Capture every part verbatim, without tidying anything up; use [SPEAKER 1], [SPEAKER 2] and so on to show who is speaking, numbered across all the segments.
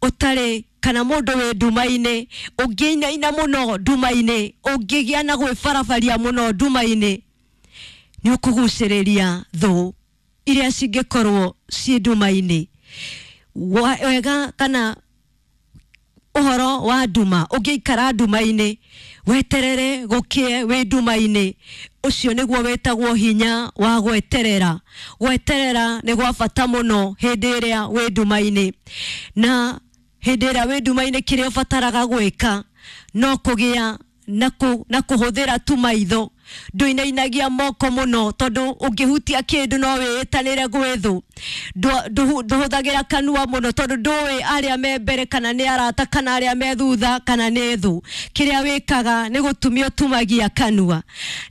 [SPEAKER 1] ũtarĩ kana mũndũ wĩ nduma-inĩ ũngĩinaina mũno nduma-inĩ, ũngĩgĩa na gwĩbarabaria mũno nduma-inĩ, nĩ ũkũgucĩrĩria thũ iria cingĩkorwo ciĩ nduma-inĩ. Wega kana ũhoro wa nduma, ũngĩikara nduma-inĩ weterere gũkĩe wĩ nduma-inĩ, ũcio nĩguo wĩtagwo hinya wa gweterera. Gweterera nĩ gwa bata mũno hĩndĩ ĩrĩa wĩ nduma-inĩ, na hĩndĩ ĩrĩa wĩ nduma-inĩ kĩrĩa ũbataraga gwĩka no kũgĩa na kũ, na kũhũthĩra tu maitho. Ndũinainagia moko mũno tondũ ũngĩhutia kĩndũ no wĩĩtanĩre gwĩ thũ. Ndũhũthagĩra kanua mũno tondũ ndũĩ arĩa me mbere kana nĩ arata kana arĩa me thutha kana nĩ thũ. Kĩrĩa wĩkaga nĩ gũtumia ũtumagia kanua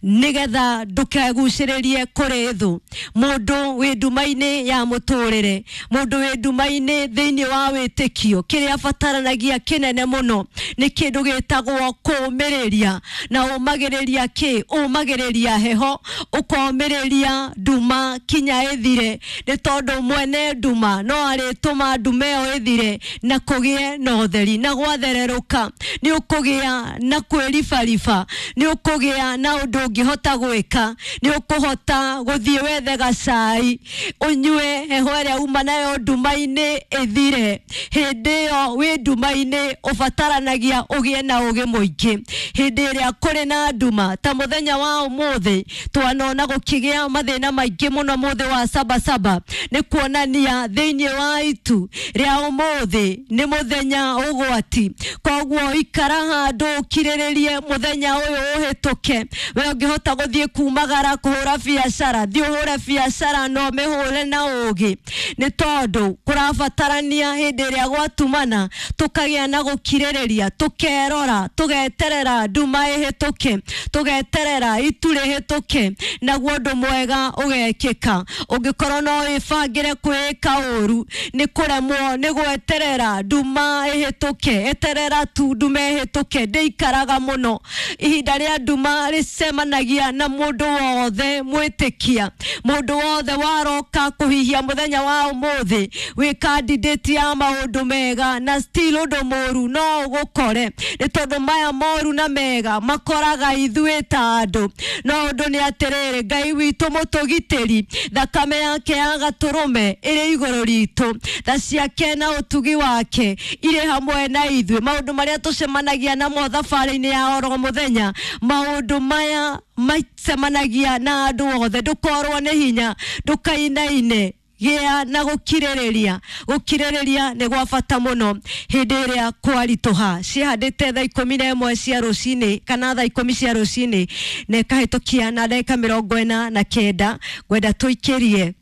[SPEAKER 1] nĩgetha ndũkegucĩrĩrie kũrĩ thũ. Mũndũ wĩ nduma-inĩ ya mũtũrĩre, mũndũ wĩ nduma-inĩ thĩinĩ wa wĩtĩkio, kĩrĩa abataranagia kĩnene mũno nĩ kĩndũ gĩtagwo kũũmĩrĩria. Na ũmagĩrĩria kĩ? Ũmagĩrĩria heho, ũkomĩrĩria nduma kinya ĩthire, nĩ tondũ mwene nduma no arĩtũma nduma ĩyo ĩthire na kũgĩe na ũtheri. Na gwathererũka nĩ ũkũgĩa na kwĩribariba, nĩ ũkũgĩa na ũndũ ũngĩhota gwĩka, nĩ ũkũhota gũthiĩ wethe gacai ũnyue heho ĩrĩa uma nayo nduma-inĩ ĩthire. Hĩndĩ ĩyo wĩ nduma-inĩ ũbataranagia ũgĩe na ũgĩ mũingĩ. Hĩndĩ ĩrĩa kũrĩ na nduma ta mũthenya wa ũmũthĩ, twanona gũkĩgĩa mathĩna maingĩ mũno mũthĩ wa sabasaba, nĩ kuonania thĩinĩ wa itu rĩa ũmũthĩ nĩ mũthenya ũgwati. Koguo ikara handũ ũkirĩrĩrie mũthenya ũyũ ũhĩtũke. We ũngĩhota gũthiĩ kumagara kũhũra biacara, thiĩ ũhũre biacara no mĩhũre na ũgĩ, nĩ tondũ kũrabatarania hĩndĩ ĩrĩa gwatumana tũkagĩa na gũkirĩrĩria, tũkerora, tũgeterera nduma ĩhĩtũke, tũgeterera itu rĩhĩtũke, naguo ũndũ mwega ũgekĩka. Ũngĩkorwo no wĩbangĩre kwĩĩka ũru, nĩ kũremwo nĩ gweterera nduma ĩhĩtũke. Eterera tu nduma ĩhĩtũke, ndĩikaraga mũno. Ihinda rĩa nduma rĩcemanagia na mũndũ wothe mwĩtĩkia, mũndũ wothe waroka kũhihia mũthenya wa ũmũthĩ wĩ candidate ya maũndũ mega na still ũndũ mũru no ũgũkore, nĩ tondũ maya moru na mega makoraga ithuĩ ta andũ. No ũndũ nĩ atĩrĩrĩ, Ngai witũ mũtũgitĩri, thakame yake ya gatũrũme ĩrĩ igũrũ ritũ, tha ciake na ũtugi wake irĩ hamwe na ithuĩ. Maũndũ marĩa tũcemanagia namo thabarĩ-inĩ ya oro mũthenya, maũndũ maya macemanagia na andũ othe. Ndũkorwo nĩ hinya, ndũkainaine, gĩa na gũkirĩrĩria. Gũkirĩrĩria nĩ gwa bata mũno hĩndĩ ĩrĩa kwaritũha. Ciĩhandĩte thaa ikũmi na ĩmwe cia rũcinĩ kana thaa ikũmi cia rũcinĩ na ĩkahĩtũkia na ndagĩka mĩrongo ĩna na kenda. Ngwenda tũikĩrie,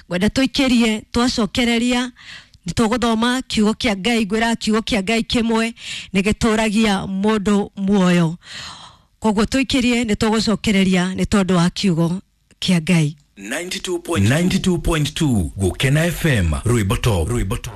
[SPEAKER 1] ngwenda tũikĩrie twacokereria nĩ tũgũthoma kiugo kĩa Ngai. Ngwĩra kiugo kĩa Ngai kĩmwe nĩ gĩtũragia mũndũ muoyo. Koguo tũikĩrie nĩ tũgũcokereria nĩ tondũ wa kiugo kĩa Ngai.
[SPEAKER 2] ninety-two point two Gukena F M, Rwimbo Top, Rwimbo Top.